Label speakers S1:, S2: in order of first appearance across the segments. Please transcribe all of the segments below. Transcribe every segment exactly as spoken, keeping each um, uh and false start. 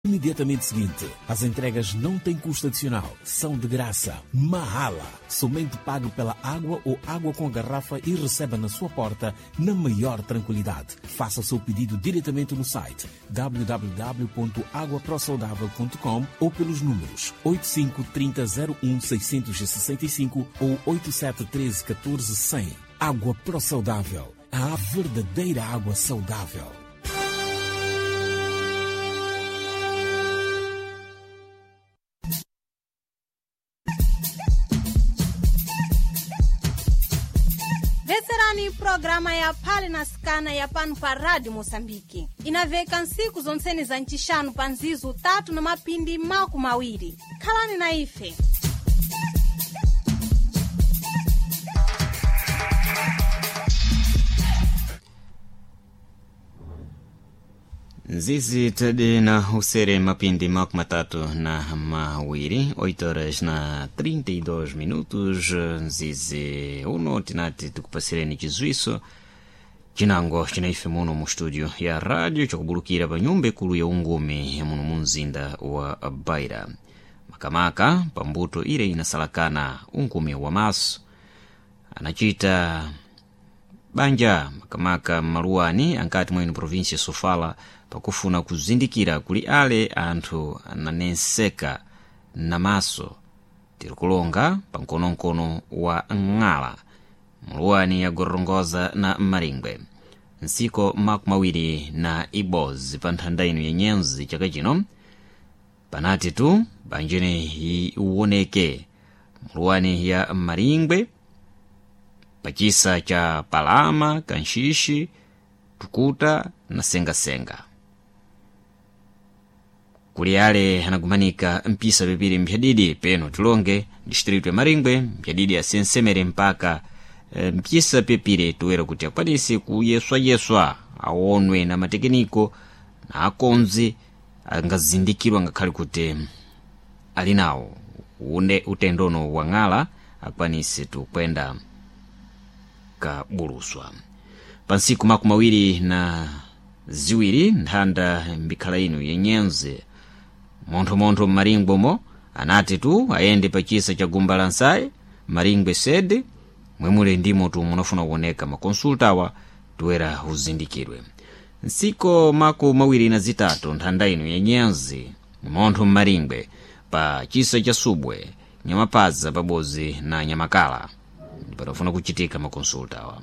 S1: Imediatamente seguinte. As entregas não têm custo adicional, são de graça. Mahala. Somente pague pela água ou água com garrafa e receba na sua porta na maior tranquilidade. Faça o seu pedido diretamente no site w w w ponto água pro saudável ponto com ou pelos números oito cinco três zero um seis seis cinco ou oito sete três um quatro um zero zero. Água Pro Saudável. A verdadeira água saudável.
S2: Veserani programa ya Phale na Sikana ya pano pa Rádio Moçambique. Inaveka nsiku zontsene za ncixanu pa nzizo tatu na mapindi maku mawiri. Khalani na ife.
S3: Nzizi tadi na usere mapindi makumi matatu na mawiri, oito horas na trinta e dois minutos. Nzizi uno tinati tukupasireni chizwiso chinango chinaife muno mu studio ya radio chakubulukira pa nyumba ikulu ya ungumi muno mu mzinda wa Beira, makamaka pambuto ile inasalakana ungumi wa maso anachita banja makamaka maluwani ankati mwene provinsia Sofala pakufuna kuzindikira kuli ale anthu ananenseka namaso tirikulonga pa mkonomkono wa ng'ala muluwani ya Gorongosa na Maringwe nsiko makumi awiri na ibozi pa nthanda ino ya nyenzi chaka chino panati tu banjene iwoneke muluwani ya Maringwe pachisa cha Palama, Kanxixi, Tukuta na Sengasenga. Kuli ale anagumanika mpisa pipiri mpyadidi peno tilonge distritu ya Maringwe mpyadidi asensemere mpaka e, mpisa pipiri tuwera kuti akwanise kuyeswayeswa awonwe na matekiniko na akonzi angazindikirwa ngakhale kuti ali nawo une utendono wang'ala akwanise tukwenda kabuluswa. Pansiku makumi awiri na ziwiri nthanda mbikhala ino yenyenze monthomontho mmaringwemo anati tu ayende pachisa cha gumba la nsayi Maringwe sede mwemule ndimo tu munafuna kuoneka makonsultawa tuwera uzindikirwe. Nsiko makumi awiri na zitatu nthanda ino yenyenzi montho mmaringwe pa chisa cha Subwe, Nyamapaza pabozi na Nyamakala panafuna kuchitika makonsulta awa.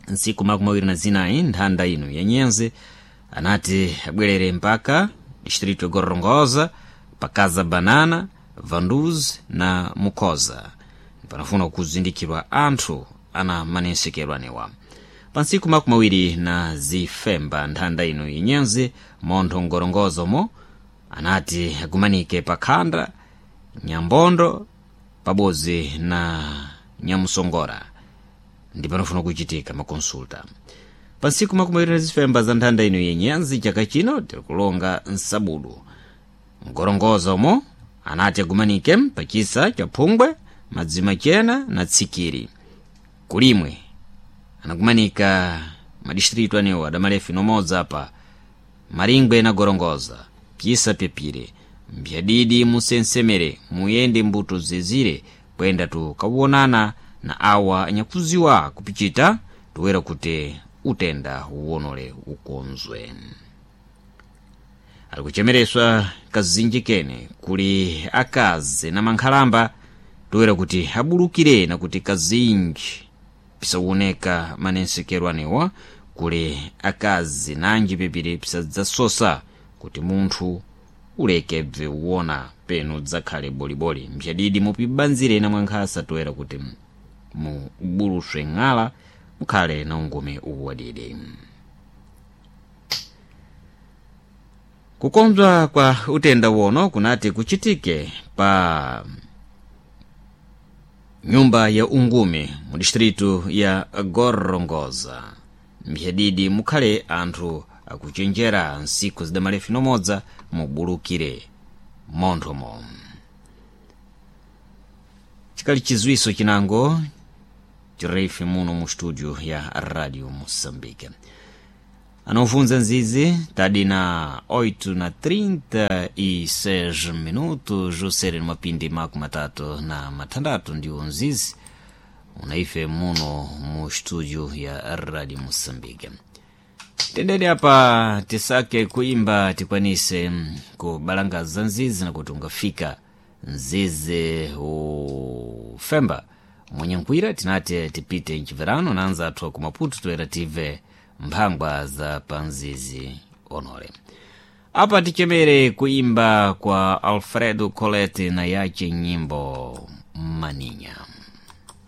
S3: Nsiku makumi awiri na zinayi nthanda ino ya nyenze anati abwerere mpaka distritu ya Gorongosa pakaza Banana, Vanduzi na Mukoza panafuna kuzindikirwa anthu ana manensekerwanewa. Pa nsiku makumi awiri na zifemba nthanda ino yenyenze montho Ngorongozomo anati agumanike pa Khanda, Nyambondo pabozi na Nyamusongora ndi panofuna kuchitika makonsulta. Pa nsiku makumi awiri na zifemba za nthanda ino yenyanzi chaka chino tirikulonga nsabudu Ngorongoza umo anati agumanike pachisa cha Phungwe, Madzima Chena na Tsikiri. Kulimwe anagumanika madistritu anewo adamalefu nomodza pa Maringwe na Gorongoza pyisa pyepire mpyadidi musensemere muyende mbuto zezire kwenda tukawonana na awa anyakuziwa kupichita tuwera kuti utenda uwonole ukonzwe. Ali kuchemereswa kazinji kene kuli akazi na mankhalamba tuwera kuti abulukire na kuti kazinji pisawoneka manensekerwanewa kuli akazi nanji pepire pisadzasosa kuti munthu uleke bve uwona penu dzakhale boliboli mpyadidi mupibanzire na mwankhasa toera kuti mubuluswe ng'ala mukhale na ungumi uwadidi. Kukonzwa kwa utenda wono kunati kuchitike pa nyumba ya ungumi mu distritu ya Gorongosa mpyadidi mukhale anthu akuchenjera nsiku zidamalefu nomodza mubulukire monthomo. Chikali chizwiso chinango chirefe muno mu studio ya Radio Moçambique. Anofunza nzizi tadi na oito na trinta e seis minutos, usere mapindi makumi matatu na matandatu ndio nzizi unaife muno mu studio ya Radio Mosambike. Tendeni apa tisake kuimba tikwanise kubalangaza nzizi na kuti ungafika nzizi ufemba mwenye nkwira tinati tipite mchiverano nanza athu ku Maputo toera tive mphangwa za panzizi onole. Apa tichemere kuimba kwa Alfredo Colette na yache nyimbo Maninya.